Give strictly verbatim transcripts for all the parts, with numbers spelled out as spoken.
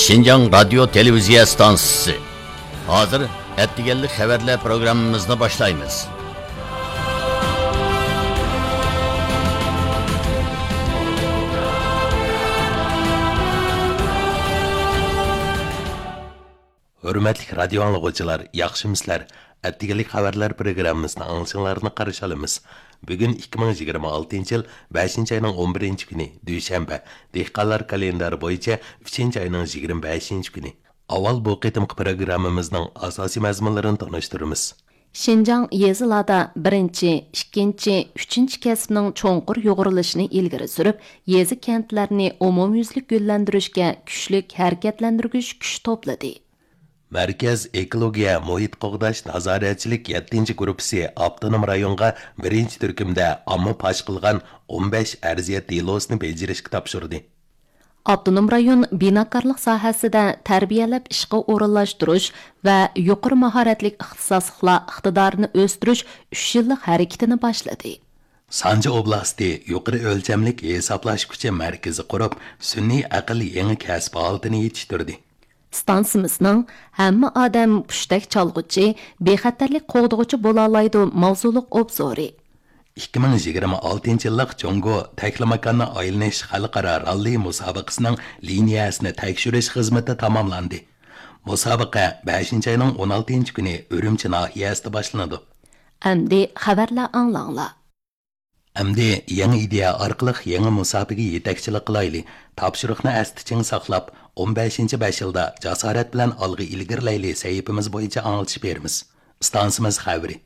شىنجاڭ رادىيو تېلېۋىزىيە ئىستانسىسى. ھازىر ئەتىگەنلىك خەۋەرلەر پروگراممىمىزنى باشلايمىز. ھۆرمەتلىك رادىيو ئاڭلىغۇچىلار، ياخشىمۇسىلەر؟ ئەتىگەنلىك خەۋەرلەر پروگراممىسىنى ئاڭلىشىڭلارنى قارشى ئالىمىز. بۈگۈن ئىككى مىڭ يىگىرمە ئالتىنچى يىل بەشىنچى ئاينىڭ ئون بىرىنچى كۈنى، دۈشەنبە، دېھقانلار كالېندارى بويىچە ئۈچىنچى ئاينىڭ يىگىرمە بەشىنچى كۈنى. ئاۋۋال بۇ قېتىمقى پروگراممىمىزنىڭ ئاساسىي مەزمۇنلىرىنى تونۇشتۇرىمىز. شىنجاڭ يېزىلاردا بىرىنچى، ئىككىنچى، ئۈچىنچى كەسىپنىڭ چوڭقۇر يۇغۇرۇلۇشىنى ئىلگىرى سۈرۈپ، يېزا، كەنتلەرنى ئومۇميۈزلۈك گۈللەندۈرۈشكە كۈچلۈك ھەرىكەتلەندۈرگۈچ كۈچ توپلىدى. مەركەز ئېكولوگىيە، مۇھىت قوغداش، نازارەتچىلىك يەتتىنچى گۇرۇپپىسى ئاپتونوم رايونغا بىرىنچى تۈركۈمدە ئامما پاش قىلغان ئون بەش ئەرزىيەت دېلوسىنى بېجىرىشكە تاپشۇردى. ئاپتونوم رايون بىناكارلىق ساھەسىدە تەربىيەلەپ ئىشقا ئورۇنلاشتۇرۇش ۋە يۇقىرى ماھارەتلىك ئىختىساسلىقلار ئىقتىدارىنى ئۆستۈرۈش ئۈچ يىللىق ھەرىكىتىنى باشلىدى. سانجى ئوبلاستى يۇقىرى ئۆلچەملىك ھېسابلاش كۈچى مەركىزى قۇرۇپ، سۈنئىي ئەقىل يېڭى كەسىپ ھالىتىنى يېتىشتۈردى. ئىستانسىمىزنىڭ ھەممە ئادەم پۇشتەك چالغۇچى، بىخەتەرلىك قوغدىغۇچى بولالايدۇ ماۋزۇلۇق ئوبزورى. ئىككى مىڭ يىگىرمە ئالتىنچى يىللىق جۇڭگو تەكلىماكاننى ئايلىنىش خەلقئارا راللى مۇسابىقىسىنىڭ لىنىيەسىنى تەكشۈرۈش خىزمىتى تاماملاندى. مۇسابىقە بەشىنچى ئاينىڭ ئون ئالتىنچى كۈنى ئۈرۈمچى ناھىيەسىدە باشلىنىدۇ. ئەمدى خەۋەرلەر ئاڭلاڭلار. ئەمدى يېڭى ئىدىيە ئارقىلىق يېڭى مۇسابىقىگە يېتەكچىلىك قىلايلى، تاپشۇرۇقنى ئەستە چىڭ ساقلاپ، ئون بەشىنچى بەش يىلدا جاسارەت بىلەن ئالغا ئىلگىرىلەيلى سەھىپىمىز بويىچە ئاڭلىتىش بېرىمىز. ئىستانسىمىز خەۋىرى.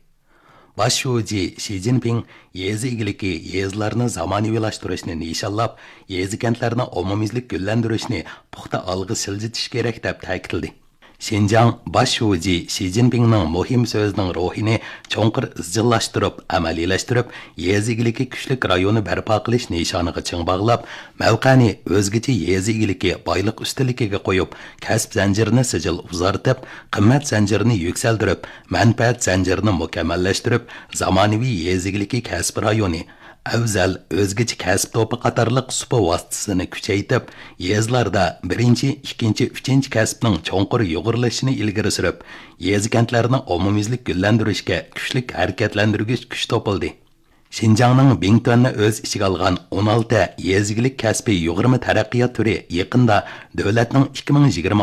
باش شۇجى شى جىنپىڭ يېزا ئىگىلىكى، يېزىلارنى زامانىۋىلاشتۇرۇشنى نىشانلاپ، يېزا، كەنتلەرنى ئومۇميۈزلۈك گۈللەندۈرۈشنى پۇختا ئالغا سىلجىتىش كېرەك، دەپ تەكىتلىدى. شىنجاڭ باش شۇجى شى جىنپىڭنىڭ مۇھىم سۆزىنىڭ روھىنى چوڭقۇر ئىزچىللاشتۇرۇپ، ئەمەلىيلەشتۈرۈپ، يېزا ئىگىلىكى كۈچلۈك رايونى بەرپا قىلىش نىشانىغا چىڭ باغلاپ، مەۋقەنى ئۆزگىچە يېزا ئىگىلىكى بايلىق ئۈستۈنلۈكىگە قويۇپ، كەسىپ زەنجىرىنى سىجىل ئۇزارتىپ، قىممەت زەنجىرىنى يۈكسەلدۈرۈپ، مەنپەئەت زەنجىرىنى مۇكەممەللەشتۈرۈپ، زامانىۋى يېزا ئىگىلىكى كەسپىي رايونى، ئەۋزەل، ئۆزگىچە كەسىپ توپى قاتارلىق سۇپا ۋاسىتىسىنى كۈچەيتىپ، يېزىلاردا بىرىنچى، ئىككىنچى، ئۈچىنچى كەسىپنىڭ چوڭقۇر يۇغۇرۇلۇشىنى ئىلگىرى سۈرۈپ، يېزا، كەنتلەرنى ئومۇميۈزلۈك گۈللەندۈرۈشكە كۈچلۈك ھەرىكەتلەندۈرگۈچ كۈچ توپلىدى. شىنجاڭنىڭ بىڭتۈەننى ئۆز ئىچىگە ئالغان ئون ئالتە يېزا ئىگىلىك كەسپى يۇغۇرما تەرەققىيات تۈرى يېقىندا دۆلەتنىڭ ئىككى مىڭ يىگىرمە